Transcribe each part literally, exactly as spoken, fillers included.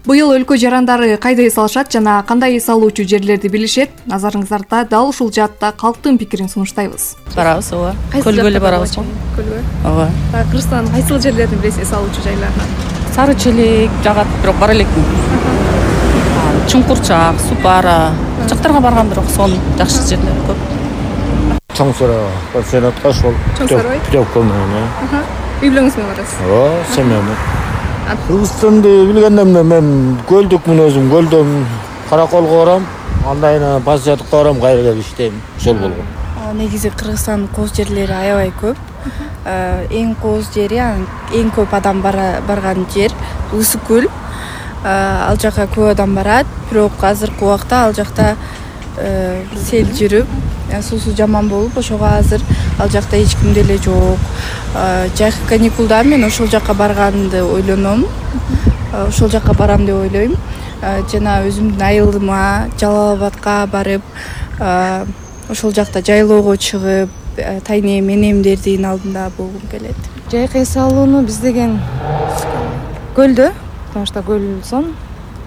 Быйыл өлкө жарандары кайда эс алышат жана кандай эс алуучу жерлерди билишет? Назарыңыздарда дал ушул жаатта калктын пикирин сунуштайбыз. Барабыз, ооба. Көлгө эле барабыз. Көлгө. Ооба. Кыргызстандын кайсыл жерлерин билесиз эс алуучу жайларынан? Сары Челек жагат, бирок бара элекмин. Чуңкурчак, Супара жактарга баргам, бирок сонун жакшы жерлер көп. Чоң Сарай, Сенатка ошол. Чоң Сарай. Жок болмойм. Үй бүлөңүз менен барасыз? Ооба, семьямда. Кыргызстанды билгендемде мен көлдүкмүн өзүм, көлдөн Караколго барам, андан кийин Пасиятыкка барам, кайра келип иштейм. Ошол болгон. Негизи Кыргызстандын кооз жерлери аябай көп. Эң кооз жери, эң көп адам барган жер Ысык көл. Ал жака көп адам барат, бирок азыркы убакта ал жакта сел жүрүп, суусу жаман болуп, ошого азыр ал жакта эч ким деле жок. Жайкы каникулда мен ошол жака барганды ойлоном. Ошол жака барам деп ойлойм. Жана өзүмдүн айылыма Жалал Абадка барып, ошол жакта жайлоого чыгып, тайнем энемдердин алдында болгум келет. Жайкы эс алууну биз деген көлдө, потому что көл сон,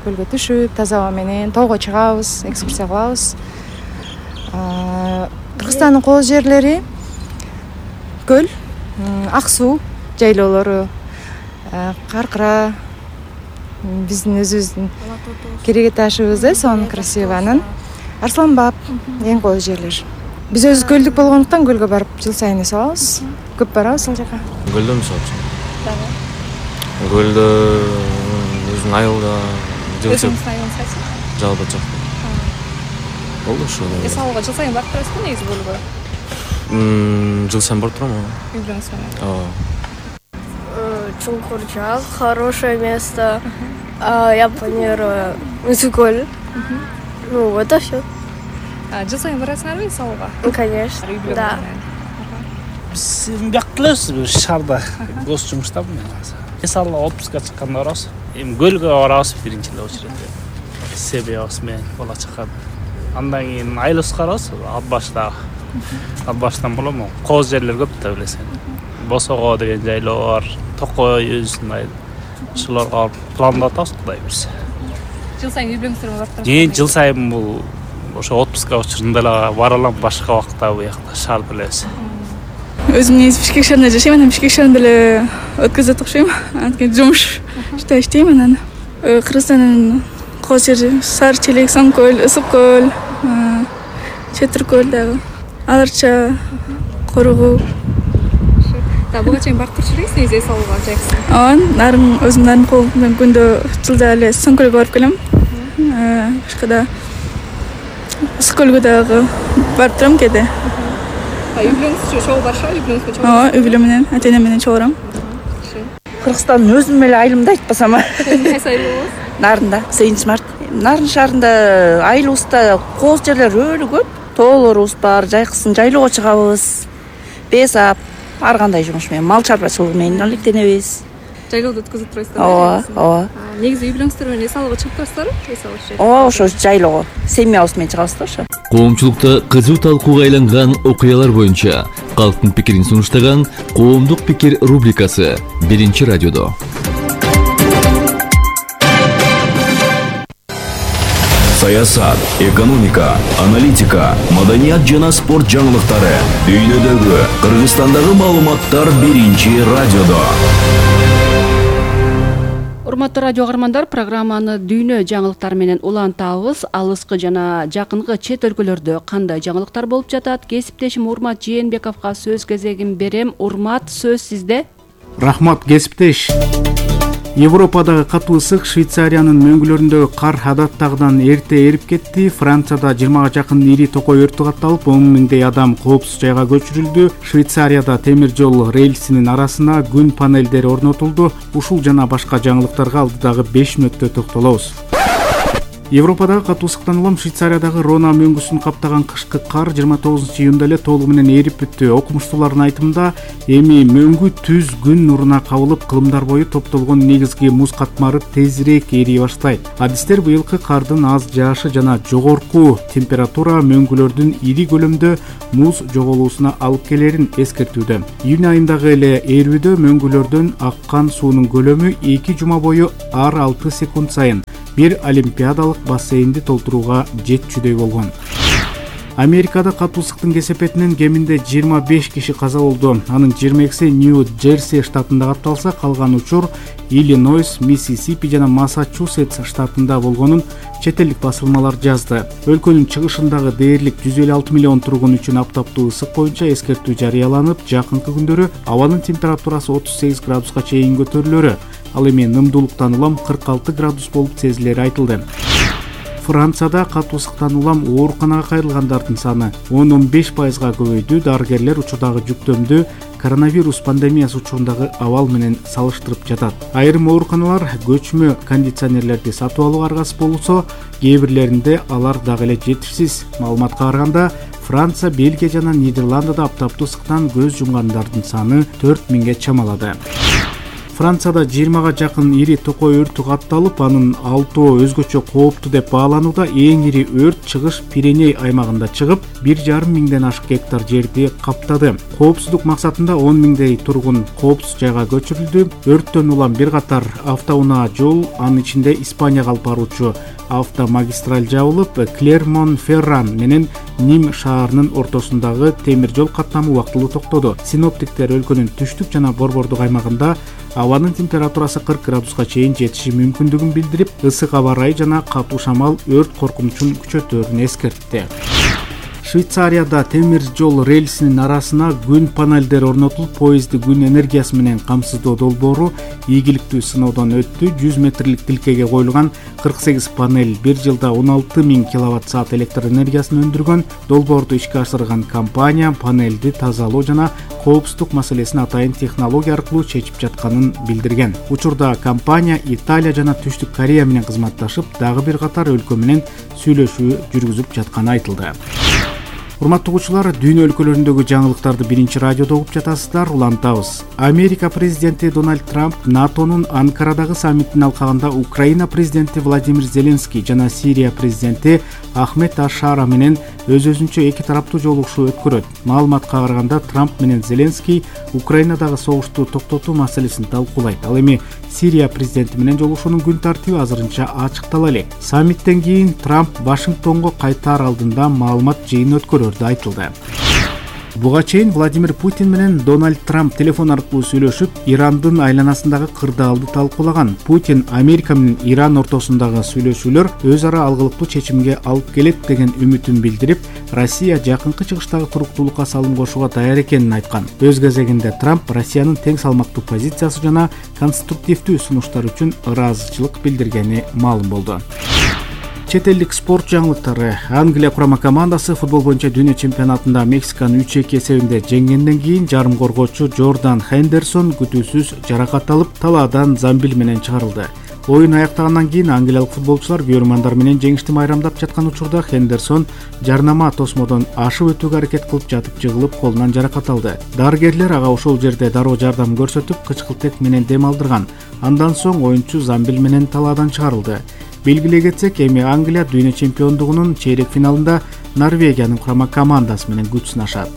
көлгө түшүп, таза аба менен тоого чыгабыз, экскурсия кылабыз. Кыргызстандын кооз жерлери көл, ак суу жайлоолору, Каркыра, биздин өзүбүздүн кереге ташыбыз э, сонун красиванын. Арсланбап эң кооз жерлер. Биз өзү көлдүк болгондуктан көлгө барып жыл сайын эс алабыз. Көп барабыз ал жака. Көлдө мисалы үчүн. Көлдө өзүң айылда жыл сайын жалба жок. Болду ошол. Эс алууга жыл сайын барып турасызбы негизи көлгө? Мм, жыл сайын барып турам. Үй бүлөңүз менен. Ооба. Чуңкурчак, хорошее место. Я планирую Ысыккөл. Ну, вот и все. Жыл сайын барасыңарбы эс алууга? Конечно, да. Биз бияк элебиз, шаарда гос жумуштамын мен азыр. Эс алууга отпускка чыкканда барабыз. Эми көлгө барабыз биринчи эле очередде. Себебибиз менен бала чакан. Андан кийин айылыбызга барабыз, Ат башта. Ат баштан болом, кооз жерлер көп да билесиң. Босого деген жайлоо бар, Токой өзүнүн айыл. Ошолорго пландап атабыз, Кудай берсе. Жыл сайын үй бүлөңүздөр менен барып турасызбы? Жи, жыл сайын бул ошо отпуска учурунда эле бара алам, башка убакта буякта шаарда элебиз. Өзүм негизи Бишкек шаарында жашайм, анан Бишкек шаарында эле өткөзөт окшойм. Анткени жумуш иште иштейм анан. Кыргызстандын кооз жери Сары Челек, Самкөл, Ысык көл, Четир көл дагы, Аларча, Коругу. Да, буга чейин барып турчу элеңиз негизи эс алууга жайкысын? Ооба, нарын өзүм нарын колунан күндө жылда эле Соңкөлгө барып келем. Башка да Ысык көлгө дагы барып турам кээде. Үй бүлөңүзчү чогуу барышабы? Үй бүлөңүз менен чогуу? Ооба, үй бүлөм менен, ата-энем менен чогуу барам. Кыргызстандын өзүм эле айылымда айтпасам. Кайсы айыл болобуз? Нарында, сегизинчи март. Нарын шаарында айылыбызда кооз жерлер өлө көп. Тоолорубуз бар, жайкысын жайлоого чыгабыз. Бес ап, ар кандай жумуш менен, мал чарбачылыгы менен алектенебиз. Жайлоодо өткөзүп турасыздар? Ооба, ооба. Негизи үй бүлөңүздөр менен эс алууга чыгып турасыздарбы? Эс алыш жайы. Ооба, ошо жайлоого. Семьябыз менен чыгабыз да ошо. Коомчулукта кызуу талкууга айланган окуялар боюнча калктын пикирин сунуштаган Коомдук пикир рубрикасы биринчи радиодо. Саясат, экономика, аналитика, маданият жана спорт жаңылыктары дүйнөдөгү, Кыргызстандагы маалыматтар биринчи радиодо. Урматтуу радио каармандар, программаны дүйнө жаңылыктары менен улантабыз. Алыскы жана жакынкы чет өлкөлөрдө кандай жаңылыктар болуп жатат? Кесиптешим Урмат Жээнбековго сөз кезегин берем. Урмат, сөз сизде. Рахмат, кесиптеш. Европадагы катуу ысык Швейцариянын мөңгүлөрүндөгү кар адаттагыдан эрте эрип кетти. Францияда жыйырмага жакын ири токой өртү катталып, он миңдей адам коопсуз жайга көчүрүлдү. Швейцарияда темир жол рельсинин арасына күн панелдери орнотулду. Ушул жана башка жаңылыктарга алдыдагы беш мүнөттө токтолобуз. Европадагы катуу ысыктан улам Швейцариядагы Рона мөңгүсүн каптаган кышкы кар жыйырма тогузунчу июнда эле толугу менен эрип бүттү. Окумуштуулардын айтымында, эми мөңгү түз күн нуруна кабылып, кылымдар бою топтолгон негизги муз катмары тезирээк эрий баштайт. Адистер быйылкы кардын аз жаашы жана жогорку температура мөңгүлөрдүн ири көлөмдө муз жоголуусуна алып келерин эскертүүдө. Июнь айындагы эле эрүүдө мөңгүлөрдөн аккан суунун көлөмү эки жума бою ар алты секунд сайын бир олимпиадалык бассейнди толтурууга жетчүдөй болгон. Америкада катуу ысыктын кесепетинен кеминде жыйырма беш киши каза болду. Анын жыйырма экиси Нью-Джерси штатында катталса, калган учур Иллинойс, Миссисипи жана Массачусетс штатында болгонун чет элдик басылмалар жазды. Өлкөнүн чыгышындагы дээрлик жүз элүү алты миллион тургун үчүн аптаптуу ысык боюнча эскертүү жарыяланып, жакынкы күндөрү абанын температурасы отуз сегиз градуска чейин көтөрүлөрү, ал эми нымдуулуктан улам кырк алты градус болуп сезилери айтылды. Францияда катуу ысыктан улам ооруканага кайрылгандардын саны он он беш пайызга көбөйдү. Дарыгерлер учурдагы жүктөмдү коронавирус пандемиясы учурундагы абал менен салыштырып жатат. Айрым ооруканалар көчмө кондиционерлерди сатып алууга аргасыз болсо, кээ бирлеринде алар дагы эле жетишсиз. Маалыматка караганда, Франция, Бельгия жана Нидерландыда аптаптуу ысыктан көз жумгандардын саны төрт миңге чамалады. Францияда жыйырмага жакын ири токой өртү катталып, анын алтоо өзгөчө кооптуу деп бааланууда. Эң ири өрт чыгыш Пиреней аймагында чыгып, бир жарым миңден ашык гектар жерди каптады. Коопсуздук максатында он миңдей тургун коопсуз жайга көчүрүлдү. Өрттөн улам бир катар автоунаа жол, анын ичинде Испанияга алып баруучу автомагистраль жабылып, Клермон-Ферран менен Ним шаарынын ортосундагы темир жол каттамы убактылуу токтоду. Синоптиктер өлкөнүн түштүк жана борбордук аймагында абанын температурасы кырк градуска чейин жетиши мүмкүндүгүн билдирип, ысык аба ырайы жана катуу шамал өрт коркунучун күчөтөөрүн эскертти. Швейцарияда темир жол рельсинин арасына күн панелдери орнотулуп, поезди күн энергиясы менен камсыздоо долбоору ийгиликтүү сыноодон өттү. жүз метрлик тилкеге коюлган кырк сегиз панель бир жылда он алты миң киловатт саат электр энергиясын өндүргөн. Долбоорду ишке ашырган компания панелди тазалоо жана коопсуздук маселесин атайын технология аркылуу чечип жатканын билдирген. Учурда компания Италия жана Түштүк Корея менен кызматташып, дагы бир катар өлкө менен сүйлөшүү жүргүзүп жатканы айтылды. Урматтуу угуучулар, дүйнө өлкөлөрүндөгү жаңылыктарды биринчи радиодо угуп жатасыздар. Улантабыз. Америка президенти Дональд Трамп НАТОнун Анкарадагы саммитин алкагында Украина президенти Владимир Зеленский жана Сирия президенти Ахмед Ашара менен өз-өзүнчө эки тараптуу жолугушуу өткөрөт. Маалыматка караганда, Трамп менен Зеленский Украинадагы согушту токтотуу маселесин талкуулайт. Ал эми Сирия президенти менен жолугушуунун күн тартиби азырынча ачыктала элек. Саммиттен кийин Трамп Вашингтонго кайтаар алдында маалымат жыйын өткөрөрдү айтылды. Буга чейин Владимир Путин менен Дональд Трамп телефон аркылуу сүйлөшүп, Ирандын айланасындагы кырдаалды талкуулаган. Путин Америка менен Иран ортосундагы сүйлөшүүлөр өз ара алгылыктуу чечимге алып келет деген үмүтүн билдирип, Россия жакынкы чыгыштагы туруктуулукка салым кошууга даяр экенин айткан. Өз кезегинде Трамп Россиянын тең салмактуу позициясы жана конструктивдүү сунуштар үчүн ыраазычылык билдиргени маалым болду. Чет элдик спорт жаңылыктары. Англия курама командасы футбол боюнча дүйнө чемпионатында Мексиканы үч эки эсебинде жеңгенден кийин жарым коргоочу Джордан Хендерсон күтүүсүз жаракат алып, талаадан замбил менен чыгарылды. Оюн аяктагандан кийин англиялык футболчулар көрөрмандар менен жеңишти майрамдап жаткан учурда Хендерсон жарнама тосмодон ашып өтүүгө аракет кылып жатып жыгылып, колунан жаракат алды. Дарыгерлер ага ошол жерде дароо жардам көрсөтүп, кычкылтек менен дем алдырган. Андан соң оюнчу замбил менен талаадан чыгарылды. Белгилей кетсек, эми Англия дүйнө чемпиондугунун чейрек финалында Норвегиянын курама командасы менен күч сынашат.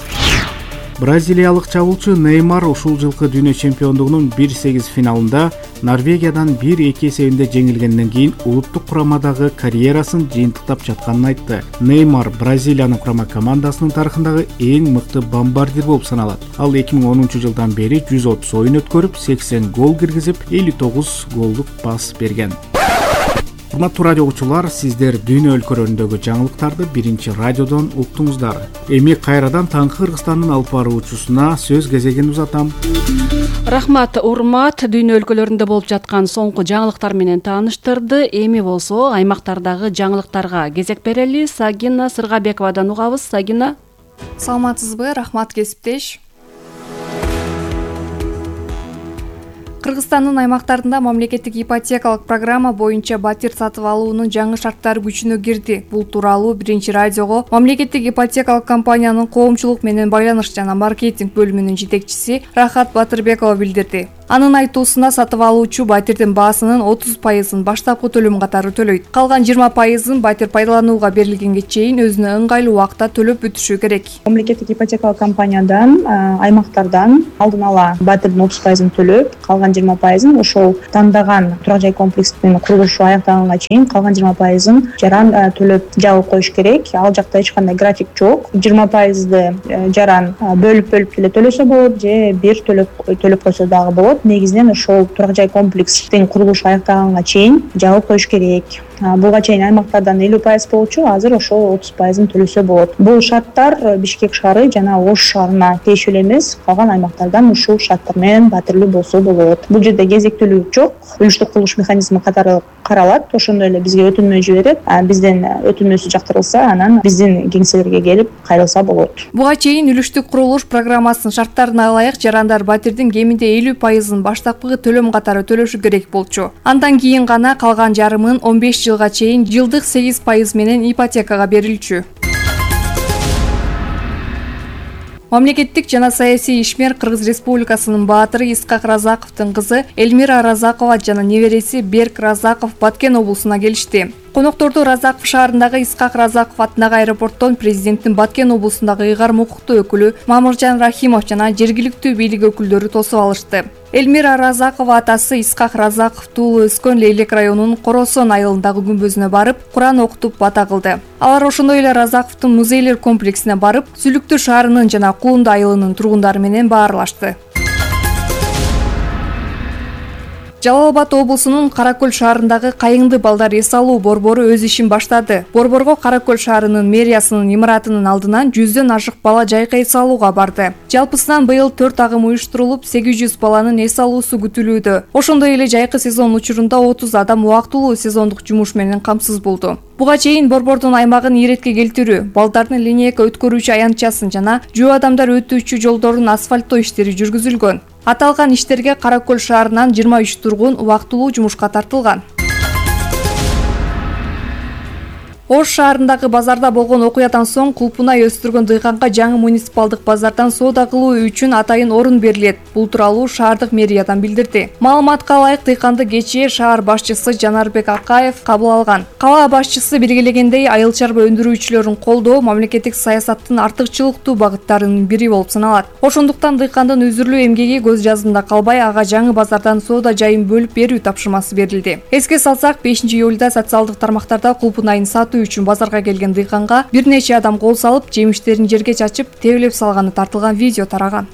Бразилиялык чабуулчу Неймар ушул жылкы дүйнө чемпиондугунун бир сегиз финалында Норвегиядан бир эки эсебинде жеңилгенден кийин улуттук курамадагы карьерасын жыйынтыктап жатканын айтты. Неймар Бразилиянын курама командасынын тарыхындагы эң мыкты бомбардир болуп саналат. Ал эки миң онунчу жылдан бери жүз отуз оюн өткөрүп, сексен гол киргизип, элүү тогуз голдук пас берген. Урматтуу радио угуучулар, сиздер дүйнө өлкөлөрүндөгү жаңылыктарды биринчи радиодон уктуңуздар. Эми кайрадан таңкы Кыргызстандын алып баруучусуна сөз кезегин узатам. Рахмат, урмат. Дүйнө өлкөлөрүндө болуп жаткан соңку жаңылыктар менен тааныштырды. Эми болсо аймактардагы жаңылыктарга кезек берели. Сагина Сыргабековадан угабыз. Сагина. Саламатсызбы? Рахмат, кесиптеш. Кыргызстандын аймактарында мамлекеттик ипотекалык программа боюнча батир сатып алуунун жаңы шарттары күчүнө кирди. Бул тууралуу Биринчи радиого мамлекеттик ипотекалык компаниянын коомчулук менен байланыш жана маркетинг бөлүмүнүн жетекчиси Рахат Батырбекова билдирди. Анын айтуусунда сатып алуучу батирдин баасынын отуз пайызын баштапкы төлөм катары төлөйт. Калган жыйырма пайызын батир пайдаланууга берилгенге чейин өзүнө ыңгайлуу убакта төлөп бүтүшү керек. Мамлекеттик ипотекалык компаниядан аймактардан алдын ала батирдин отуз пайызын төлөп, калган жыйырма пайызын ошол тандаган турак жай комплексинин курулушу аяктаганга чейин калган жыйырма пайызын жаран төлөп жабып коюш керек. Ал жакта эч кандай график жок. жыйырма пайызды жаран бөлүп-бөлүп деле төлөсө болот же бир төлөп төлөп койсо дагы болот. Негизинен ошол турак жай комплекстин курулушу аяктаганга чейин жабып коюш керек. Буга чейин аймактардан элүү пайыз болчу, азыр ошол отуз пайызын төлөсө болот. Бул шарттар Бишкек шаары жана Ош шаарына тиешелүү эмес, калган аймактардан ушул шарттар менен батирлүү болсо болот. Бул жерде кезектелүү жок, үлүштүк курулуш механизми катары каралат, ошондой эле бизге өтүнмө жиберет. Бизден өтүнмөсү жактырылса, анан биздин кеңселерге келип кайрылса болот. Буга чейин үлүштүк курулуш программасынын шарттарына ылайык жарандар батирдин кеминде элүү пайызын баштапкы төлөм катары төлөшү керек болчу. Андан кийин гана калган жарымын он беш жылга чейин жылдык сегиз пайыз менен ипотекага берилчү. Мамлекеттик жана саясий ишмер Кыргыз Республикасынын баатыры Исхак Разаковдун кызы Эльмира Разакова жана небереси Берк Разаков Баткен облусуна келишти. Конокторду Разаков шаарындагы Исхак Разаков атындагы аэропорттон президенттин Баткен облусундагы ыйгарым укуктуу өкүлү Мамыржан Рахимов жана жергиликтүү бийлик өкүлдөрү тосуп алышты. Эльмира Разакова атасы Исхак Разаков туулуп өскөн Лейлек районунун Коросон айылындагы күмбөзүнө барып, Куран окутуп бата кылды. Алар ошондой эле Разаковдун музейлер комплексине барып, Сүлүктүү шаарынын жана Кулунду айылынын тургундары менен баарлашты. Жалал Абад облусунун Каракөл шаарындагы Кайыңды балдар эс алуу борбору өз ишин баштады. Борборго Каракөл шаарынын мэриясынын имаратынын алдынан жүздөн ашык бала жайкы эс алууга барды. Жалпысынан быйыл төрт агым уюштурулуп, сегиз жүз баланын эс алуусу күтүлүүдө. Ошондой эле жайкы сезон учурунда отуз адам убактылуу сезондук жумуш менен камсыз болду. Буга чейин борбордун аймагын иретке келтирүү, балдардын линейка өткөрүүчү аянтчасын жана жөө адамдар өтүүчү жолдорун асфальттоо иштери жүргүзүлгөн. Аталган иштерге Каракөл шаарынан жыйырма үч тургун убактылуу жумушка тартылган. Ош шаарындагы базарда болгон окуядан соң кулпунай өстүргөн дыйканга жаңы муниципалдык базардан соода кылуу үчүн атайын орун берилет. Бул тууралуу шаардык мэриядан билдирди. Маалыматка ылайык дыйканды кечээ шаар башчысы Жанарбек Акаев кабыл алган. Кала башчысы белгилегендей, айыл чарба өндүрүүчүлөрүн колдоо мамлекеттик саясаттын артыкчылыктуу багыттарынын бири болуп саналат. Ошондуктан дыйкандын үзүрлүү эмгеги көз жазында калбай, ага жаңы базардан соода жайын бөлүп берүү тапшырмасы берилди. Эске салсак, бешинчи июлда социалдык тармактарда кулпунайын сатуу үчүн базарга келген дыйканга бир нече адам кол салып, жемиштерин жерге чачып, тебелеп салганы тартылган видео тараган.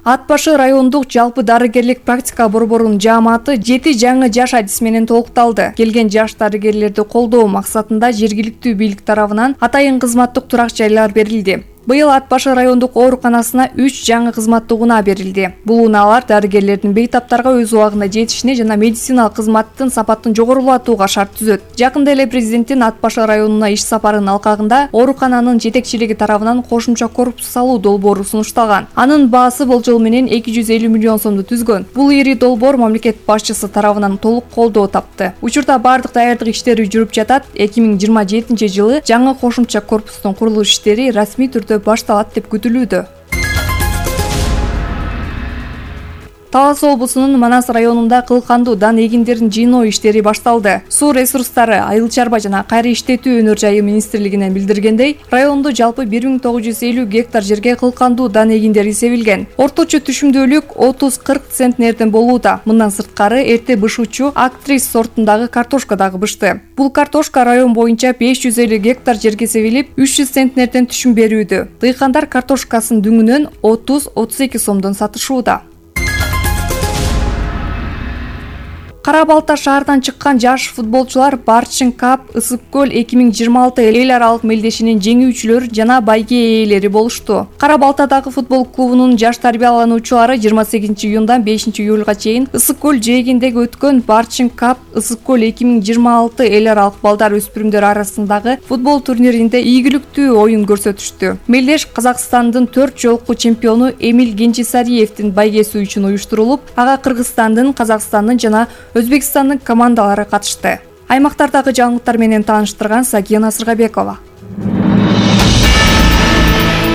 Ат башы райондук жалпы дарыгерлик практика борборунун жааматы жети жаңы жаш адис менен толукталды. Келген жаш дарыгерлерди колдоо максатында жергиликтүү бийлик тарабынан атайын кызматтык турак жайлар берилди. Быйыл Ат башы райондук ооруканасына үч жаңы кызматтык унаа берилди. Бул унаалар дарыгерлердин бейтаптарга өз убагында жетишине жана медициналык кызматтын сапатын жогорулатууга шарт түзөт. Жакында эле президенттин Ат башы районуна иш сапарынын алкагында оорукананын жетекчилиги тарабынан кошумча корпус салуу долбоору сунушталган. Анын баасы болжол менен эки жүз элүү миллион сомду түзгөн. Бул ири долбоор мамлекет башчысы тарабынан толук колдоо тапты. Учурда бардык даярдык иштери жүрүп жатат. эки миң жыйырма жетинчи жылы жаңы кошумча корпустун курулуш иштери расмий түрдө башталат деп күтүлүүдө. Талас облусунун Манас районунда кылкандуу дан эгиндерин жыйноо иштери башталды. Суу ресурстары, айыл чарба жана кайра иштетүү өнөр жайы министрлигинен билдиргендей, райондо жалпы бир миң тогуз жүз элүү гектар жерге кылкандуу дан эгиндери себилген. Орточо түшүмдүүлүк отуз кырк центнерден болууда. Мындан сырткары эрте бышуучу Актрис сортундагы картошка дагы бышты. Бул картошка район боюнча беш жүз элүү гектар жерге себилип, үч жүз центнерден түшүм берүүдө. Дыйкандар картошкасын дүңүнөн отуз отуз эки сомдон сатышууда. Кара Балта шаарынан чыккан жаш футболчулар Барчин Кап Ысык көл эки миң жыйырма алты эл аралык мелдешинин жеңүүчүлөрү жана байге ээлери болушту. Кара Балтадагы футбол клубунун жаш тарбиялануучулары жыйырма сегизинчи июндан бешинчи июлга чейин Ысык көл жээгиндеги өткөн Барчин Кап Ысык көл эки миң жыйырма алты эл аралык балдар өспүрүмдөр арасындагы футбол турниринде ийгиликтүү оюн көрсөтүштү. Мелдеш Казакстандын төрт жолку чемпиону Эмиль Генчисариевдин байгеси үчүн уюштурулуп, ага Кыргызстандын, Казакстандын жана Өзбекстандын командалары катышты. Аймактардагы жаңылыктар менен тааныштырган Сакия Насыргабекова.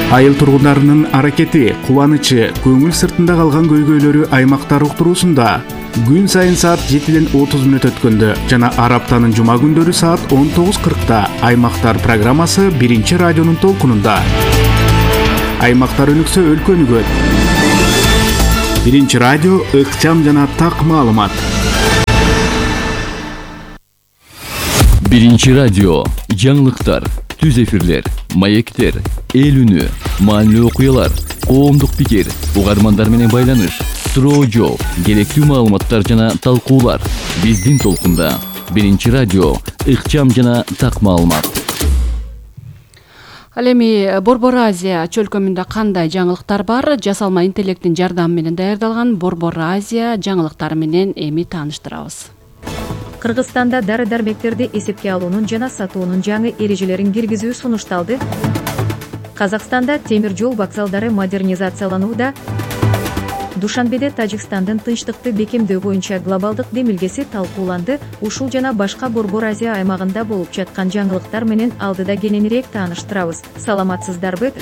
Айыл тургундарынын аракети, кубанычы, көңүл сыртында калган көйгөйлөрү аймактар уктуруусунда күн сайын саат жетиден отуз мүнөт өткөндө жана ар аптанын жума күндөрү саат он тогуз кыркта Аймактар программасы биринчи радионун толкунунда. Аймактар өнүксө өлкө өнүгөт. Биринчи радио ыкчам жана так маалымат. Биринчи радио жаңылыктар, түз эфирлер, маектер, эл үнү, маанилүү окуялар, коомдук пикир, угармандар менен байланыш, суроо жооп, керектүү маалыматтар жана талкуулар. Биздин толкунда Биринчи радио ыкчам жана так маалымат. Ал эми Борбор Азия чөлкөмүндө кандай жаңылыктар бар? Жасалма интеллекттин жардамы менен даярдалган Борбор Азия жаңылыктары менен эми тааныштырабыз. Кыргызстанда дары-дармектерди эсепке алуунун жана сатуунун жаңы эрежелерин киргизүү сунушталды. Казакстанда темир жол вокзалдары модернизацияланууда. Душанбеде Тажикстандын тынчтыкты бекемдөө боюнча глобалдык демилгеси талкууланды. Ушул жана башка Борбор Азия аймагында болуп жаткан жаңылыктар менен алдыда кененирээк тааныштырабыз. Саламатсыздарбы?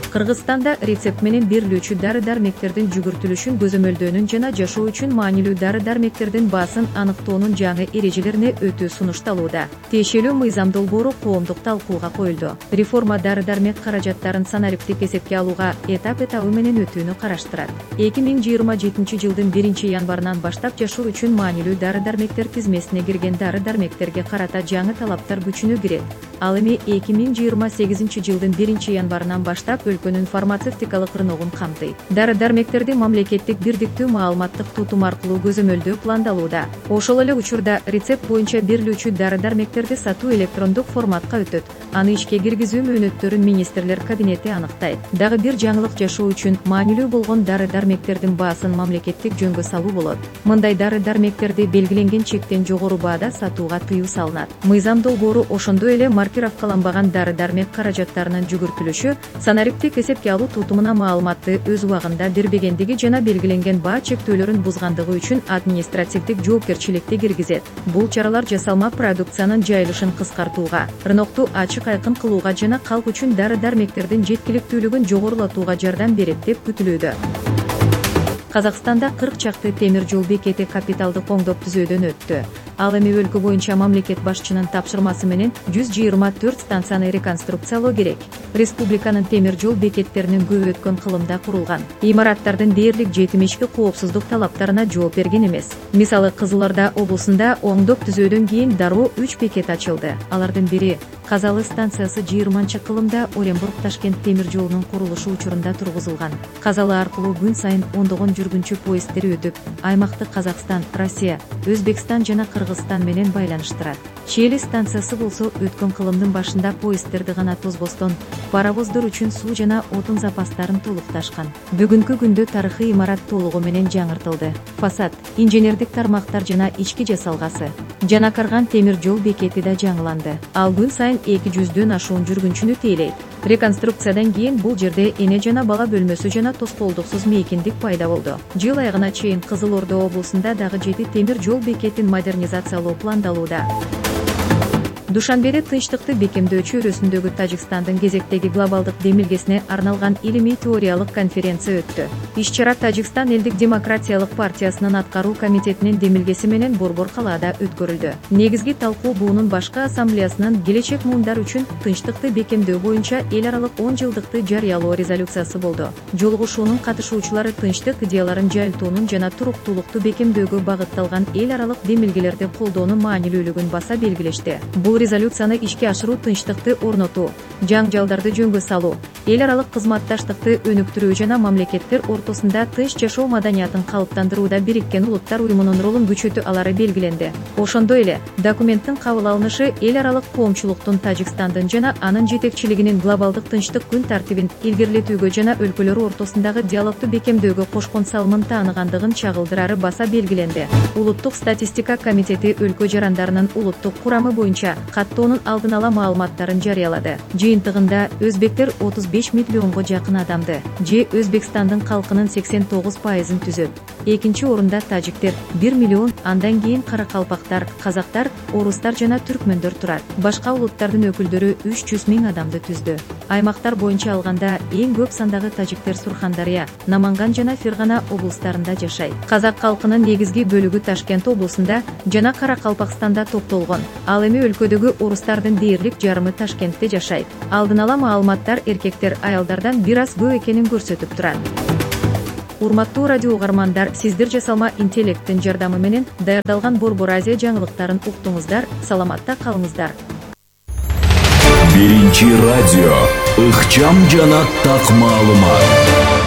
Кыргызстанда рецепт менен берилүүчү дары-дармектердин жүгүртүлүшүн көзөмөлдөөнүн жана жашоо үчүн маанилүү дары-дармектердин баасын аныктоонун жаңы эрежелерине өтүү сунушталууда. Тиешелүү мыйзам долбоору коомдук талкууга коюлду. Реформа дары-дармек каражаттарын санариптик эсепке алууга этап-этабы менен өтүүнү караштырат. эки миң жыйырма жетинчи жылдын биринчи январынан баштап жашоо үчүн маанилүү дары-дармектер тизмесине кирген дары-дармектерге карата жаңы талаптар күчүнө кирет. Ал эми эки миң жыйырма сегизинчи жылдын биринчи январынан баштап өлкөнүн фармацевтикалык рыногун камтыйт. Дары-дармектерди мамлекеттик бирдиктүү маалыматтык тутум аркылуу көзөмөлдөө пландалууда. Ошол эле учурда рецепт боюнча берилүүчү дары-дармектерди сатуу электрондук форматка өтөт. Аны ишке киргизүү мөөнөттөрүн министрлер кабинети аныктайт. Дагы бир жаңылык жашоо үчүн маанилүү болгон дары-дармектердин баасын мамлекеттик жөнгө салуу болот. Мындай дары-дармектерди белгиленген чектен жогору баада сатууга тыюу салынат. Мыйзам долбоору ошондой эле маркировкаланбаган дары-дармек каражаттарынын жүгүртүлүшү, санариптик эсепке алуу тутумуна маалыматты өз убагында бербегендиги жана белгиленген баа чектөөлөрүн бузгандыгы үчүн административдик жоопкерчиликти киргизет. Бул чаралар жасалма продукциянын жайылышын кыскартууга, рынокту ачык айкын кылууга жана калк үчүн дары-дармектердин жеткиликтүүлүгүн жогорулатууга жардам берет деп күтүлүүдө. Казакстанда кырк чакты темир жол бекети капиталдык оңдоп түзөөдөн өттү. Ал эми өлкө боюнча мамлекет башчынын тапшырмасы менен жүз жыйырма төрт станцияны реконструкциялоо керек. Республиканын темир жол бекеттеринин көбү өткөн кылымда курулган. Имараттардын дээрлик жетимишки коопсуздук талаптарына жооп берген эмес. Мисалы, Кызыл Орда облусунда оңдоп түзөөдөн кийин дароо үч бекет ачылды. Алардын бири Казалы станциясы жыйырманчы кылымда Оренбург-Ташкент темир жолунун курулушу учурунда тургузулган. Казалы аркылуу күн сайын ондогон жүргүнчү поезддери өтүп, аймакты Казакстан, Россия, Өзбекстан жана Кыргызстан менен байланыштырат. Чели станциясы болсо өткөн кылымдын башында поезддерди гана тозбостон, паровоздор үчүн суу жана отун запастарын толукташкан. Бүгүнкү күндө тарыхый имарат толугу менен жаңыртылды. Фасад, инженердик тармактар жана ички жасалгасы, жана Карган темир жол бекети да жаңыланды. Ал күн сайын эки жүздөн ашуун жүргүнчүнү тейлейт. Реконструкциядан кийин бул жерде эне жана бала бөлмөсү жана тоскоолдуксуз мейкиндик пайда болду. Жыл айыгына чейин Кызыл Орда облусунда дагы жети темир жол бекетин модернизациялоо пландалууда. Душанбеде тынчтыкты бекемдөө чөйрөсүндөгү Тажикстандын кезектеги глобалдык демилгесине арналган илимий теориялык конференция өттү. Иш-чара Тажикстан элдик демократиялык партиясынын аткаруу комитетинин демилгеси менен Борбор калаада өткөрүлдү. Негизги талкуу буунун башкы ассамблеясынын келечек муундар үчүн тынчтыкты бекемдөө боюнча эл аралык он жылдыкты жарыялоо резолюциясы болду. Жолугушуунун катышуучулары тынчтык идеяларын жайылтуунун жана туруктуулукту бекемдөөгө багытталган эл аралык демилгелерди колдоонун маанилүүлүгүн баса белгилешти. Бул резолюцияны ишке ашыруу тынчтыкты орнотуу, жаңжалдарды жөнгө салуу, эл аралык кызматташтыкты өнүктүрүү жана мамлекеттер ортосунда тынч жашоо маданиятын калыптандырууда Бириккен Улуттар уюмунун ролун күчөтүү алары белгиленди. Ошондой эле документтин кабыл алынышы эл аралык коомчулуктун Тажикстандын жана анын жетекчилигинин глобалдык тынчтык күн тартибин илгерилетүүгө жана өлкөлөр ортосундагы диалогду бекемдөөгө кошкон салымын тааныгандыгын чагылдырары баса белгиленди. Улуттук статистика комитети өлкө жарандарынын улуттук курамы боюнча каттоонун алдын ала маалыматтарын жарыялады. Жыйынтыгында өзбектер отуз беш миллионго жакын адамды, же Өзбекстандын калкынын сексен тогуз пайызын түзөт. Экинчи орунда тажиктер бир миллион, андан кийин каракалпактар, казактар, орустар жана түркмөндөр турат. Башка улуттардын өкүлдөрү үч жүз миң адамды түздү. Аймактар боюнча алганда эң көп сандагы тажиктер Сурхандария, Наманган жана Фергана облустарында жашайт. Казак калкынын негизги бөлүгү Ташкент облусунда жана Каракалпакстанда топтолгон. Ал эми өлкөдөгү орустардын дээрлик жарымы Ташкентте жашайт. Алдын ала маалыматтар эркектер аялдардан бир аз көп экенин көрсөтүп турат. Урматтуу радио угармандар, сиздер жасалма интеллекттин жардамы менен даярдалган Борбор Азия жаңылыктарын уктуңуздар. Саламатта калыңыздар. Биринчи радио ыкчам жана так маалымат.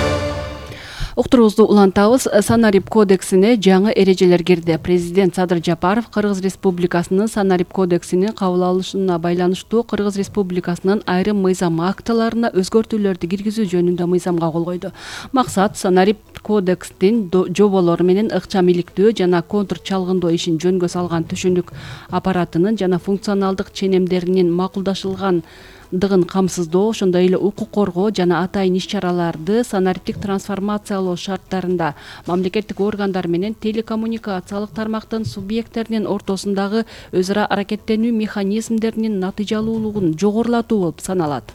Уктуруубузду улантабыз. Санарип кодексине жаңы эрежелер кирди. Президент Садыр Жапаров Кыргыз Республикасынын Санарип кодексинин кабыл алынышына байланыштуу Кыргыз Республикасынын айрым мыйзам актыларына өзгөртүүлөрдү киргизүү жөнүндө мыйзамга кол койду. Максат Санарип кодекстин жоболору менен ыкчам иликтөө жана контур чалгындоо ишин жөнгө салган түшүнүк аппаратынын жана функционалдык ченемдеринин макулдашылган дыгын камсыздоо, ошондой эле укук коргоо жана атайын иш-чараларды санариптик трансформациялоо шарттарында мамлекеттик органдар менен телекоммуникациялык тармактын субъекттеринин ортосундагы өз ара аракеттенүү механизмдеринин натыйжалуулугун жогорулатуу болуп саналат.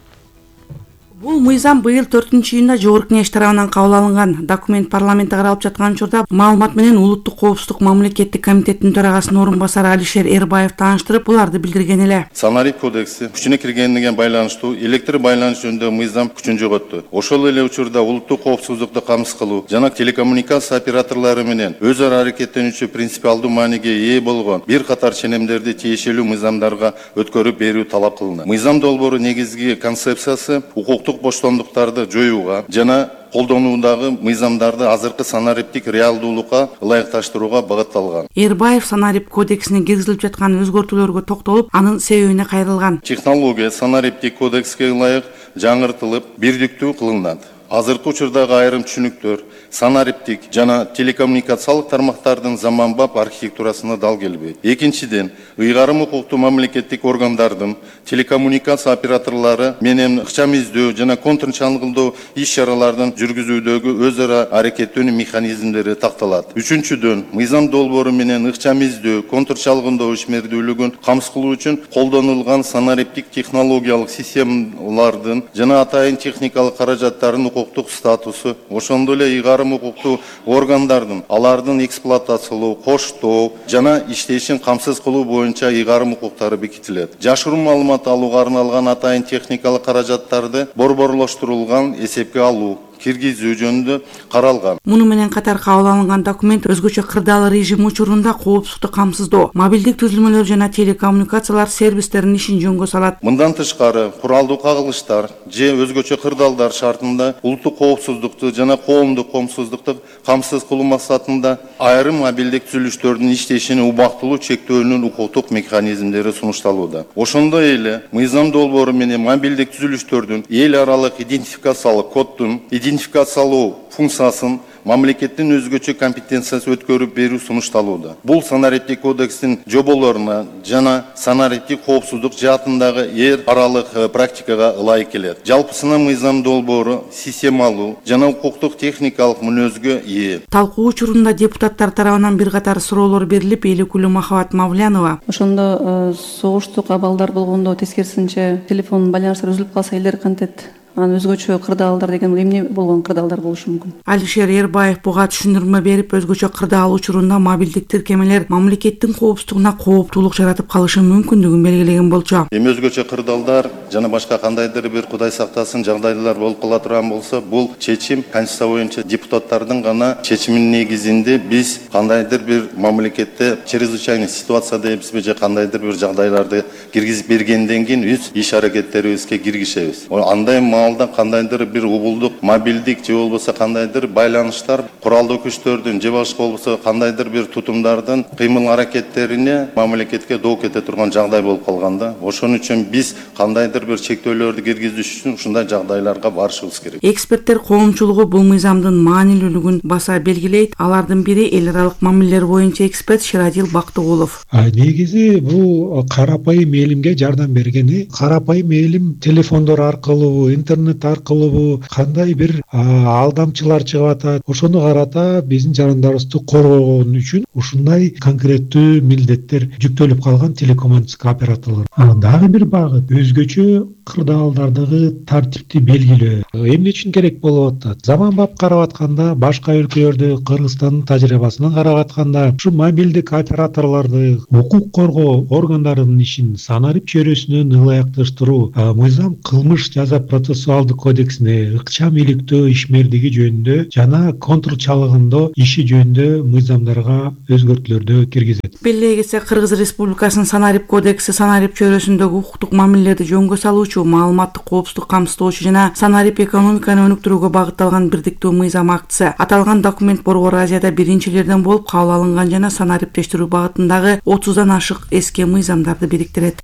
Бул мыйзам быйыл төртүнчү июнда Жогорку Кеңеш тарабынан кабыл алынган. Документ парламентте каралып жаткан учурда маалымат менен улуттук коопсуздук мамлекеттик комитеттин төрагасынын орун басары Алишер Эрбаев тааныштырып, буларды билдирген эле. Санарип кодекси күчүнө киргендиге байланыштуу электр байланыш жөнүндө мыйзам күчүн жоготту. Ошол эле учурда улуттук коопсуздукту камсыз кылуу жана телекоммуникация операторлору менен өз ара аракеттенүүчү принципиалдуу мааниге ээ болгон бир катар ченемдерди тиешелүү мыйзамдарга өткөрүп берүү талап кылынды. Мыйзам долбоору негизги концепциясы укуктук боштондуктарды жоюуга жана колдонуудагы мыйзамдарды азыркы санариптик реалдуулукка ылайыкташтырууга багытталган. Эрбаев Санарип кодексине киргизилип жаткан өзгөртүүлөргө токтолуп, анын себебине кайрылган. Технология санариптик кодекске ылайык жаңыртылып, бирдиктүү кылынат. Азыркы учурдагы айрым түшүнүктөр санариптик жана телекоммуникациялык тармактардын заманбап архитектурасына дал келбейт. Экинчиден, ыйгарым укуктуу мамлекеттик органдардын телекоммуникация операторлору менен ыкчам издөө жана контур чалгындоо иш-чаралардын жүргүзүүдөгү өз ара аракеттенүү механизмдери такталат. Үчүнчүдөн, мыйзам долбоору менен ыкчам издөө, контур чалгындоо ишмердүүлүгүн камсыз кылуу үчүн колдонулган санариптик технологиялык системалардын жана атайын техникалык каражаттардын укуктук статусу, ошондой эле ыйгарым укуктуу органдардын алардын эксплуатациялоо, коштоо жана иштешин камсыз кылуу боюнча ыйгарым укуктары бекитилет. Жашыруун маалымат алууга арналган атайын техникалык каражаттарды борборлоштурулган эсепке алуу, киргизүү жөнүндө каралган. Муну менен катар кабыл алынган документ өзгөчө кырдаал режим учурунда коопсуздукту камсыздоо, мобилдик түзүлмөлөр жана телекоммуникациялар сервистеринин ишин жөнгө салат. Мындан тышкары, куралдуу кагылыштар же өзгөчө кырдаалдар шартында улуттук коопсуздукту жана коомдук коопсуздукту камсыз кылуу максатында айрым мобилдик түзүлүштөрдүн иштешине убактылуу чектөөнүн укуктук механизмдери сунушталууда. Ошондой эле мыйзам долбоору менен мобилдик түзүлүштөрдүн эл аралык идентификациялык коддун идентификациялоо функциясын мамлекеттин өзгөчө компетенциясы өткөрүп берүү сунушталууда. Бул санариптик кодекстин жоболоруна жана санариптик коопсуздук жаатындагы эл аралык практикага ылайык келет. Жалпысына мыйзам долбоору системалуу жана укуктук техникалык мүнөзгө ээ. Талкуу учурунда депутаттар тарабынан бир катар суроолор берилип, эл өкүлү Махабат Мавлянова ошондо согуштук абалдар болгондо тескерисинче телефон байланыштар үзүлүп калса элдер кантет анан өзгөчө кырдаалдар деген бул эмне болгон кырдаалдар болушу мүмкүн? Алишер Эрбаев буга түшүндүрмө берип, өзгөчө кырдаал учурунда мобилдик тиркемелер мамлекеттин коопсуздугуна кооптуулук жаратып калышы мүмкүндүгүн белгилеген болчу. Эми өзгөчө кырдаалдар жана башка кандайдыр бир Кудай сактасын жагдайлар болуп кала турган болсо, бул чечим Конституция боюнча депутаттардын гана чечиминин негизинде биз кандайдыр бир мамлекетте чрезвычайный ситуация дейбизби же кандайдыр бир жагдайларды киргизип бергенден кийин өз иш аракеттерибизге киргизебиз. Андай маалда кандайдыр бир убулдук, мобилдик же болбосо кандайдыр байланыштар, куралдуу күчтөрдүн же башка болбосо кандайдыр бир тутумдардын кыймыл аракеттерине мамлекетке доо кете турган жагдай болуп калганда, ошон үчүн биз кандайдыр бир чектөөлөрдү киргизиш үчүн ушундай жагдайларга барышыбыз керек. Эксперттер коомчулугу бул мыйзамдын маанилүүлүгүн баса белгилейт. Алардын бири эл аралык мамилелер боюнча эксперт Ширадил Бактыгулов. Негизи бул карапайым элимге жардам бергени, карапайым элим телефондор аркылуу, интернет аркылуу кандай бир алдамчылар чыгып атат, ошону карата биздин жарандарыбызды коргогон үчүн ушундай конкреттүү милдеттер жүктөлүп калган телекоммуникация операторлор. Дагы бир багыт өзгөчө кырдаалдардагы тартипти белгилөө. Эмне үчүн керек болуп атат? Заманбап карап атканда, башка өлкөлөрдө, Кыргызстандын тажрыйбасынан карап атканда, ушу мобилдик операторлорду укук коргоо органдарынын ишин санарип чөйрөсүнөн ылайыкташтыруу мыйзам кылмыш жаза процессуалдык кодексине ыкчам иликтөө ишмердиги жөнүндө жана контрол чалыгындоо иши жөнүндө мыйзамдарга өзгөртүүлөрдү киргизет. Белгилей кетсек, Кыргыз Республикасынын санарип кодекси санарип чөйрөсүндөгү укуктук мамилелерди жөнгө салуучу, маалыматтык коопсуздук камсыздоочу жана санарип экономиканы өнүктүрүүгө багытталган бирдиктүү мыйзам актысы. Аталган документ Борбор Азияда биринчилерден болуп кабыл алынган жана санариптештирүү багытындагы отуздан ашык эски мыйзамдарды бириктирет.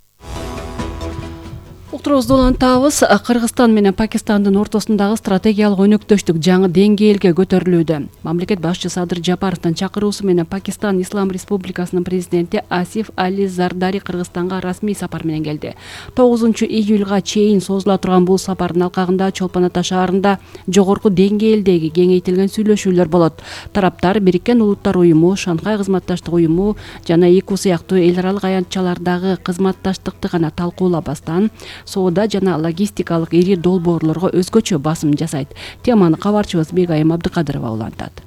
Уктурубузду улантабыз. Кыргызстан менен Пакистандын ортосундагы стратегиялык өнөктөштүк жаңы деңгээлге көтөрүлүүдө. Мамлекет башчысы Садыр Жапаровдун чакыруусу менен Пакистан Ислам Республикасынын президенти Асиф Али Зардари Кыргызстанга расмий сапар менен келди. тогузунчу июлга чейин созула турган бул сапардын алкагында Чолпон Ата шаарында жогорку деңгээлдеги кеңейтилген сүйлөшүүлөр болот. Тараптар Бириккен Улуттар уюму, Шанхай кызматташтык уюму жана ИКУ сыяктуу эл аралык аянтчалардагы кызматташтыкты гана талкуулабастан соода жана логистикалык ири долбоорлорго өзгөчө басым жасайт. Теманы кабарчыбыз Бегайым Абдыкадырова улантат.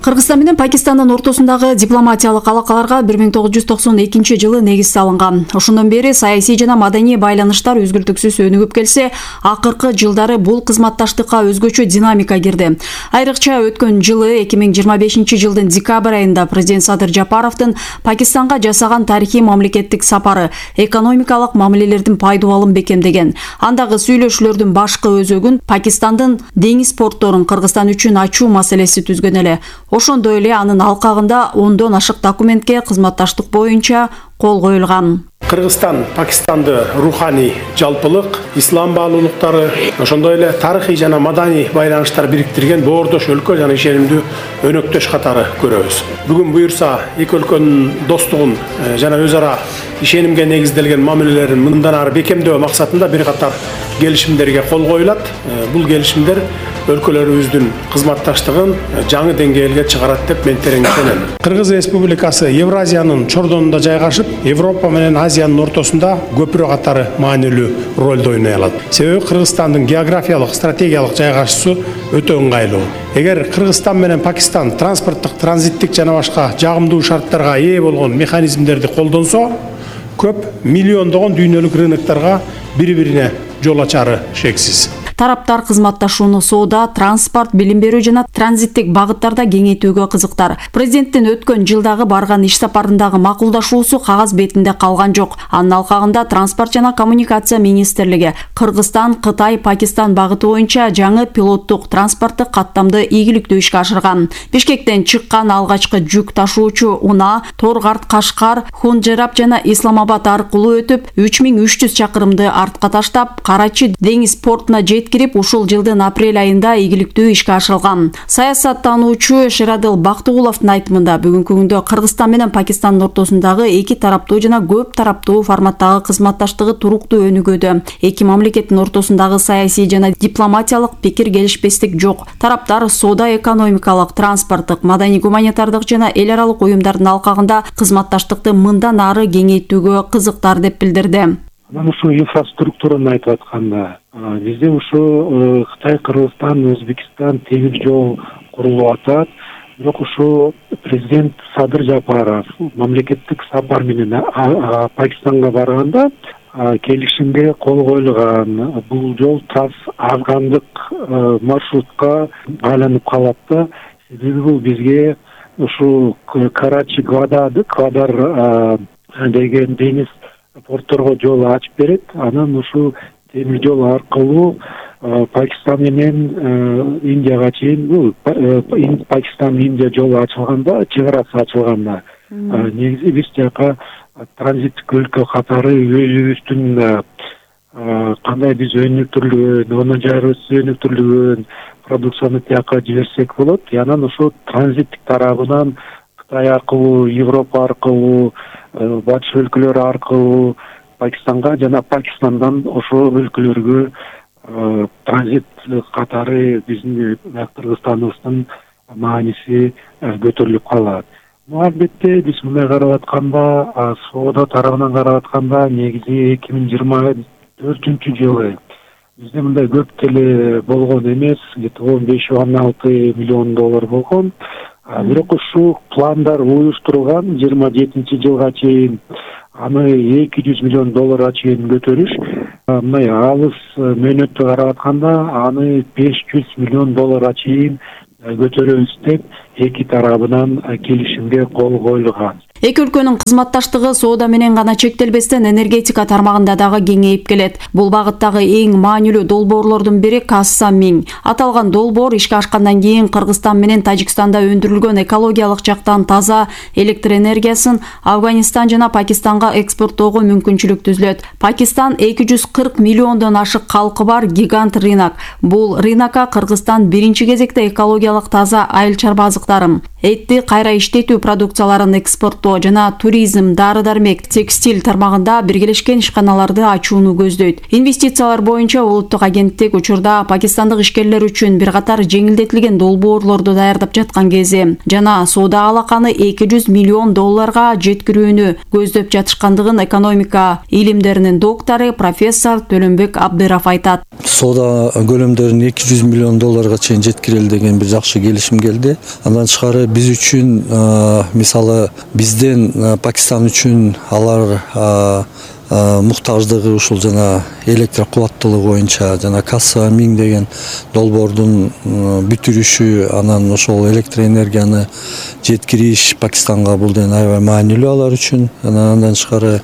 Кыргызстан менен Пакистандын ортосундагы дипломатиялык алакаларга бир миң тогуз жүз токсон экинчи жылы негиз салынган. Ошондон бери саясий жана маданий байланыштар үзгүлтүксүз өнүгүп келсе, акыркы жылдары бул кызматташтыкка өзгөчө динамика кирди. Айрыкча өткөн жылы эки миң жыйырма бешинчи жылдын декабрь айында президент Садыр Жапаровдун Пакистанга жасаган тарыхый мамлекеттик сапары экономикалык мамилелердин пайдубалын бекемдеген. Андагы сүйлөшүүлөрдүн башкы өзөгүн Пакистандын деңиз портторун Кыргызстан үчүн ачуу маселеси түзгөн эле. Ошондой эле анын алкагында ондон ашык документке кызматташтык боюнча кол коюлган. Кыргызстан Пакистанды руханий жалпылык, ислам баалуулуктары, ошондой эле тарыхый жана маданий байланыштар бириктирген боордош өлкө жана ишенимдүү өнөктөш катары көрөбүз. Бүгүн буюрса эки өлкөнүн достугун жана өз ара ишенимге негизделген мамилелерин мындан ары бекемдөө максатында бир катар келишимдерге кол коюлат. Бул келишимдер өлкөлөрүбүздүн кызматташтыгын жаңы деңгээлге чыгарат деп мен терең ишенем. Кыргыз Республикасы Евразиянын чордонунда жайгашып, Европа менен Азиянын ортосунда көпүрө катары маанилүү ролду ойной алат. Себеби Кыргызстандын географиялык, стратегиялык жайгашуусу өтө ыңгайлуу. Эгер Кыргызстан менен Пакистан транспорттук, транзиттик жана башка жагымдуу шарттарга ээ болгон механизмдерди колдонсо, көп миллиондогон дүйнөлүк рыноктарга бири-бирине жол ачары шексиз. Тараптар кызматташууну соода, транспорт, билим берүү жана транзиттик багыттарда кеңейтүүгө кызыктар. Президенттин өткөн жылдагы барган иш сапарындагы макулдашуусу кагаз бетинде калган жок. Анын алкагында транспорт жана коммуникация министрлиги Кыргызстан, Кытай, Пакистан багыты боюнча жаңы пилоттук транспорттук каттамды ийгиликтүү ишке ашырган. Бишкектен чыккан алгачкы жүк ташуучу Уна, Торгарт, Кашкар, Хунжерап жана Исламабад аркылуу өтүп, үч миң үч жүз чакырымды артка таштап, Карачи деңиз портуна жеткирип, ушул жылдын апрель айында ийгиликтүү ишке ашырылган. Саясаттануучу Ширадил Бактыгуловдун айтымында бүгүнкү күндө Кыргызстан менен Пакистандын ортосундагы эки тараптуу жана көп тараптуу форматтагы кызматташтыгы туруктуу өнүгүүдө. Эки мамлекеттин ортосундагы саясий жана дипломатиялык пикир келишпестик жок. Тараптар соода, экономикалык, транспорттук, маданий, гуманитардык жана эл аралык уюмдардын алкагында кызматташтыкты мындан ары кеңейтүүгө кызыктар деп билдирди. Анан ушу инфраструктураны айтып атканда бизде ушу Кытай, Кыргызстан, Өзбекстан темир жол курулуп атат. Бирок ушу президент Садыр Жапаров мамлекеттик сапар менен Пакистанга барганда келишимге кол коюлган. Бул жол трасс афгандык маршрутка айланып калат да. Себеби бул бизге ушу Карачи Гвадар Гвадар деген деңиз портторго жол ачып берет. Анан ушу темир жол аркылуу Пакистан менен Индияга чейин, Пакистан Индия жолу ачылганда, чек арасы ачылганда негизи биз жака транзиттик өлкө катары өзүбүздүн кандай биз өнүктүрүлгөн, онун жарыбыз өнүктүрүлгөн продукцияны тияка жиберсек болот. Анан ошо транзиттик тарабынан Кытай аркылуу, Европа аркылуу, батыш өлкөлөр аркылуу Пакистанга жана Пакистандан ошо өлкөлөргө транзит катары биздин Кыргызстаныбыздын мааниси көтөрүлүп калат. Албетте биз мындай карап атканда, соода тарабынан карап атканда негизи эки миң жыйырма төртүнчү жылы бизде мындай көп деле болгон эмес, где-то он беш он алты миллион доллар болгон. Бирок ушу пландар уюштурулган жыйырма жетинчи жылга чейин аны эки жүз миллион долларга чейин көтөрүш. Мындай алыс мөөнөттү карап атканда аны беш жүз миллион долларга чейин көтөрөбүз деп эки тарабынан келишимге кол коюлган. Эки өлкөнүн кызматташтыгы соода менен гана чектелбестен энергетика тармагында дагы кеңейип келет. Бул багыттагы эң маанилүү долбоорлордун бири Касса Миң. Аталган долбоор ишке ашкандан кийин Кыргызстан менен Тажикстанда өндүрүлгөн экологиялык жактан таза электр энергиясын Афганистан жана Пакистанга экспорттоого мүмкүнчүлүк түзүлөт. Пакистан эки жүз кырк миллиондон ашык калкы бар гигант рынок. Бул рынокко Кыргызстан биринчи кезекте экологиялык таза айыл чарба азыктарын, этти кайра иштетүү продукцияларын экспорттоо жана туризм, дары-дармек, текстиль тармагында биргелешкен ишканаларды ачууну көздөйт. Инвестициялар боюнча улуттук агенттик учурда пакистандык ишкерлер үчүн бир катар жеңилдетилген долбоорлорду даярдап жаткан кези жана соода алаканы эки жүз миллион долларга жеткирүүнү көздөп жатышкандыгын экономика илимдеринин доктору профессор Төлөнбек Абдыров айтат. Соода көлөмдөрүн эки жүз миллион долларга чейин жеткирели деген бир жакшы келишим келди. Андан тышкары биз үчүн мисалы бизден Пакистан үчүн алар муктаждыгы ушул жана электр кубаттуулугу боюнча жана Касса Миң деген долбоордун бүтүрүшү, анан ошол электр энергияны жеткириш Пакистанга бул ден аябай маанилүү алар үчүн. Андан тышкары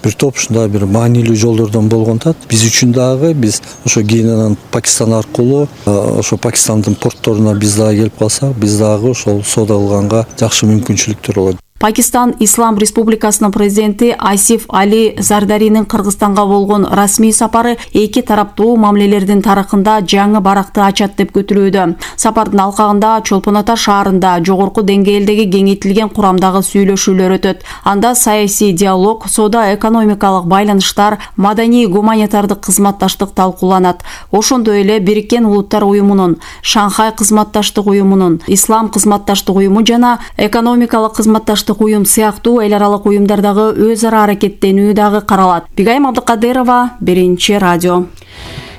бир топ ушундай бир маанилүү жолдордон болгонтат. Биз үчүн дагы биз ошо кийин анан Пакистан аркылуу ошо Пакистандын портторуна биз дагы келип калсак, биз дагы ошол соода кылганга жакшы мүмкүнчүлүктөр болот. Пакистан Ислам Республикасынын президенти Асиф Али Зардаринин Кыргызстанга болгон расмий сапары эки тараптуу мамилелердин тарыхында жаңы баракты ачат деп күтүлүүдө. Сапардын алкагында Чолпон Ата шаарында жогорку деңгээлдеги кеңейтилген курамдагы сүйлөшүүлөр өтөт. Анда саясий диалог, соода экономикалык байланыштар, маданий гуманитардык кызматташтык талкууланат. Ошондой эле Бириккен Улуттар уюмунун, Шанхай кызматташтык уюмунун, Ислам кызматташтык уюму жана экономикалык кызматташтык уюм сыяктуу эл аралык уюмдардагы өз ара аракеттенүү дагы каралат. Бигайым Абдыкадырова, Биринчи радио.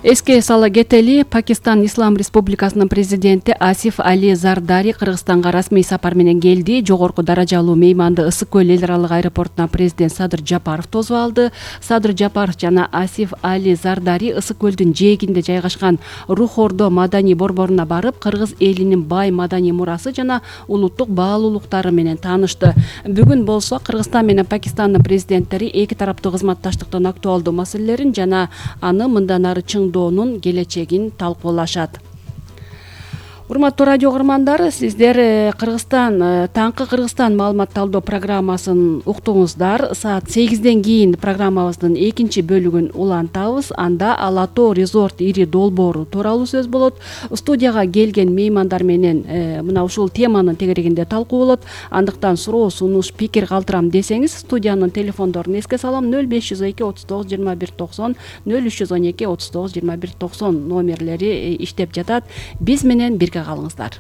Эске сала кетели, Пакистан Ислам Республикасынын президенти Асиф Али Зардари Кыргызстанга расмий сапар менен келди. Жогорку даражалуу мейманды Ысык көл эл аралык аэропортуна президент Садыр Жапаров тосуп алды. Садыр Жапаров жана Асиф Али Зардари Ысык көлдүн жээгинде жайгашкан Рух Ордо маданий борборуна барып, кыргыз элинин бай маданий мурасы жана улуттук баалуулуктары менен таанышты. Бүгүн болсо Кыргызстан менен Пакистандын президенттери эки тараптуу кызматташтыктын актуалдуу маселелерин жана аны мындан ары чыңдоонун келечегин талкуулашат. Урматтуу радио угармандар, сиздер Кыргызстан, таңкы Кыргызстан маалымат талдоо программасын уктуңуздар. Саат сегизден кийин программабыздын экинчи бөлүгүн улантабыз. Анда Ала Тоо резорт ири долбоору тууралуу сөз болот. Студияга келген меймандар менен мына ушул теманын тегерегинде талкуу болот. Андыктан суроо, сунуш, пикир калтырам десеңиз, студиянын телефондорун эске салам: нөл беш жүз эки отуз тогуз жыйырма бир токсон, нөл үч жүз он эки отуз тогуз жыйырма бир токсон номерлери иштеп жатат. Биз менен бирге калыңыздар.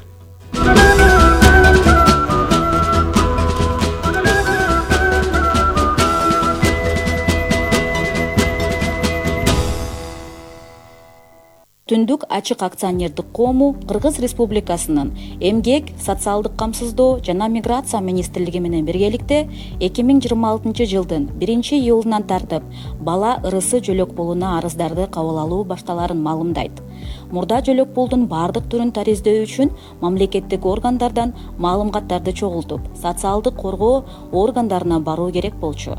Түндүк ачык акционердик коому Кыргыз Республикасынын Эмгек, социалдык камсыздоо жана миграция министрлиги менен биргеликте эки миң жыйырма алтынчы жылдын биринчи июлунан тартып бала ырысы жөлөк пулуна арыздарды кабыл алуу башталарын маалымдайт. Мурда жөлөк пулдун бардык түрүн тариздөө үчүн мамлекеттик органдардан маалыматтарды чогултуп, социалдык коргоо органдарына баруу керек болчу.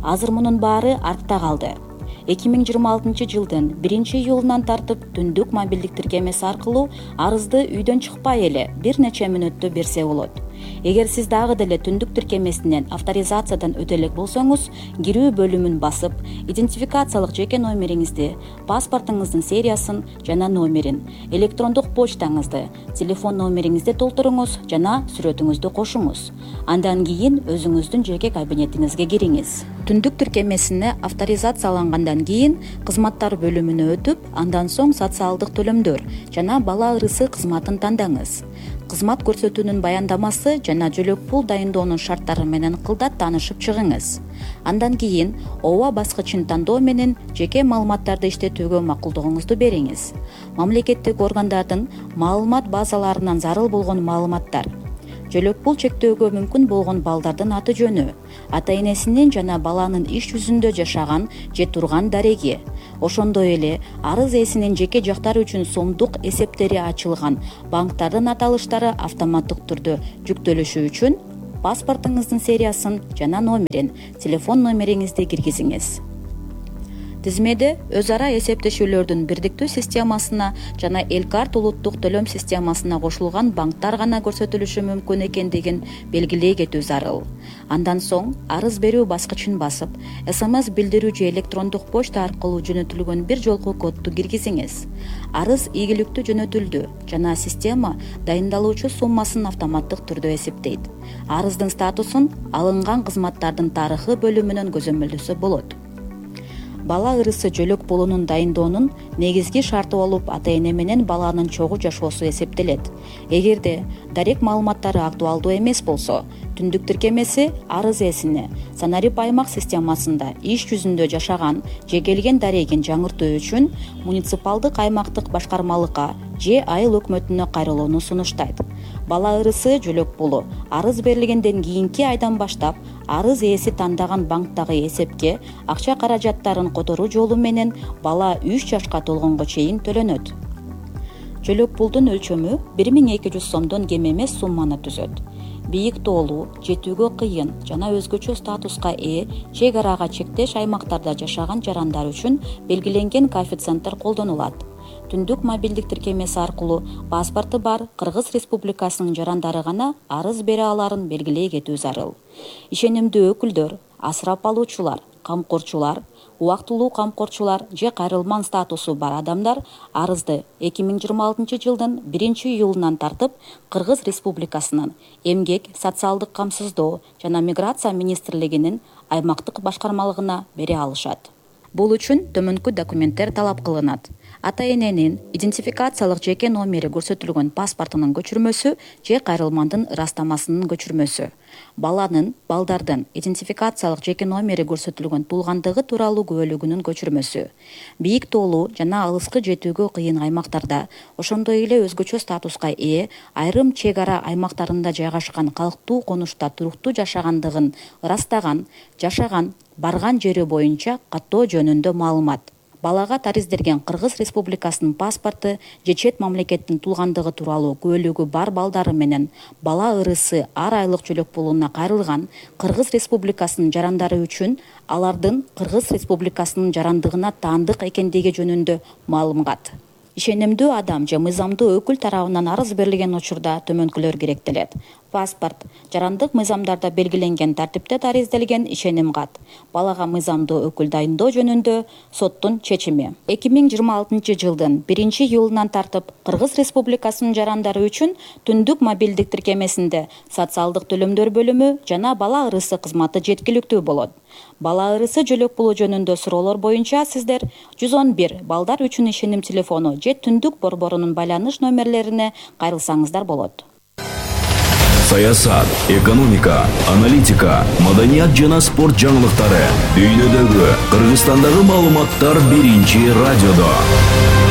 Азыр мунун баары артта калды. эки миң жыйырма алтынчы жылдын биринчи июлунан тартып түндүк мобилдик тиркемеси аркылуу арызды үйдөн чыкпай эле бир нече мүнөттө берсе болот. Эгер сиз дагы деле түндүк тиркемесинен авторизациядан өтө элек болсоңуз, кирүү бөлүмүн басып, идентификациялык жеке номериңизди, паспортуңуздун сериясын жана номерин, электрондук почтаңызды, телефон номериңизди толтуруңуз жана сүрөтүңүздү кошуңуз. Андан кийин өзүңүздүн жеке кабинетиңизге кириңиз. Түндүк тиркемесине авторизациялангандан кийин кызматтар бөлүмүнө өтүп, андан соң социалдык төлөмдөр жана бала ырысы кызматын тандаңыз. Кызмат көрсөтүүнүн баяндамасы жана жөлөк пул дайындоонун шарттары менен кылдат таанышып чыгыңыз. Андан кийин ооба баскычын тандоо менен жеке маалыматтарды иштетүүгө макулдугуңузду бериңиз. Мамлекеттик органдардын маалымат базаларынан зарыл болгон маалыматтар, жөлөк пул чектөөгө мүмкүн болгон балдардын аты жөнү, ата-энесинин жана баланын иш жүзүндө жашаган же турган дареги, ошондой эле арыз ээсинин жеке жактары үчүн сомдук эсептери ачылган банктардын аталыштары автоматтык түрдө жүктөлүшү үчүн паспортуңуздун сериясын жана номерин, телефон номериңизди киргизиңиз. Тизмеде өз ара эсептешүүлөрдүн бирдиктүү системасына жана Элкарт улуттук төлөм системасына кошулган банктар гана көрсөтүлүшү мүмкүн экендигин белгилей кетүү зарыл. Андан соң арыз берүү баскычын басып, эс эм эс билдирүү же электрондук почта аркылуу жөнөтүлгөн бир жолку кодду киргизиңиз. Арыз ийгиликтүү жөнөтүлдү жана система дайындалуучу суммасын автоматтык түрдө эсептейт. Арыздын статусун алынган кызматтардын тарыхы бөлүмүнөн көзөмөлдөсө болот. Бала ырысы жөлөк пулунун дайындоонун негизги шарты болуп ата-эне менен баланын чогуу жашоосу эсептелет. Эгерде дарек маалыматтары актуалдуу эмес болсо, түндүк тиркемеси арыз ээсине санарип аймак системасында иш жүзүндө жашаган же келген дарегин жаңыртуу үчүн муниципалдык аймактык башкармалыкка же айыл өкмөтүнө кайрылууну сунуштайт. Бала ырысы жөлөк пулу арыз берилгенден кийинки айдан баштап арыз ээси тандаган банктагы эсепке акча каражаттарын которуу жолу менен бала үч жашка толгонго чейин төлөнөт. Жөлөк пулдун өлчөмү бир миң эки жүз сомдон кем эмес сумманы түзөт. Бийик тоолуу, жетүүгө кыйын жана өзгөчө статуска ээ чек арага чектеш аймактарда жашаган жарандар үчүн белгиленген коэффициенттер колдонулат. Түндүк мобилдик тиркемеси аркылуу паспорту бар Кыргыз Республикасынын жарандары гана арыз бере аларын белгилей кетүү зарыл. Ишенимдүү өкүлдөр, асырап алуучулар, камкорчулар, убактылуу камкорчулар же кайрылман статусу бар адамдар арызды эки миң жыйырма алтынчы жылдын биринчи июлунан тартып Кыргыз Республикасынын Эмгек, социалдык камсыздоо жана миграция министрлигинин аймактык башкармалыгына бере алышат. Бул үчүн төмөнкү документтер талап кылынат. Ата-эненин идентификациялык жеке номери көрсөтүлгөн паспортунун көчүрмөсү же кайрылмандын ырастамасынын көчүрмөсү. Баланын, балдардын идентификациялык жеке номери көрсөтүлгөн туулгандыгы тууралуу күбөлүгүнүн көчүрмөсү. Бийик тоолуу жана алыскы жетүүгө кыйын аймактарда, ошондой эле өзгөчө статуска ээ айрым чек ара аймактарында жайгашкан калктуу конушта туруктуу жашагандыгын ырастаган, жашаган, барган жери боюнча каттоо жөнүндө маалымат. Балага тариздерген Кыргыз Республикасынын паспорту же чет мамлекеттин туулгандыгы тууралуу күбөлүгү бар балдары менен бала ырысы ар айлык жөлөк пулуна кайрылган Кыргыз Республикасынын жарандары үчүн алардын Кыргыз Республикасынын жарандыгына таандык экендиги жөнүндө маалымат. Ишенимдүү адам же мыйзамдуу өкүл тарабынан арыз берилген учурда төмөнкүлөр керектелет. Паспорт, жарандык мыйзамдарда белгиленген тартипте тариздалген ишеним кат, балага мыйзамдуу өкүл дайындоо жөнүндө соттун чечими. эки миң жыйырма алтынчы жылдын биринчи июлунан тартып Кыргыз Республикасынын жарандары үчүн түндүк мобилдик тиркемесинде социалдык төлөмдөр бөлүмү жана бала ырысы кызматы жеткиликтүү болот. Бала ырысы жөлөк пулу жөнүндө суроолор боюнча сиздер жүз он бир балдар үчүн ишеним телефону же түндүк борборунун байланыш номерлерине кайрылсаңыздар болот. Саясат, экономика, аналитика, маданият жана спорт жаңылыктары дүйнөдөгү, Кыргызстандагы маалыматтар биринчи радиодо.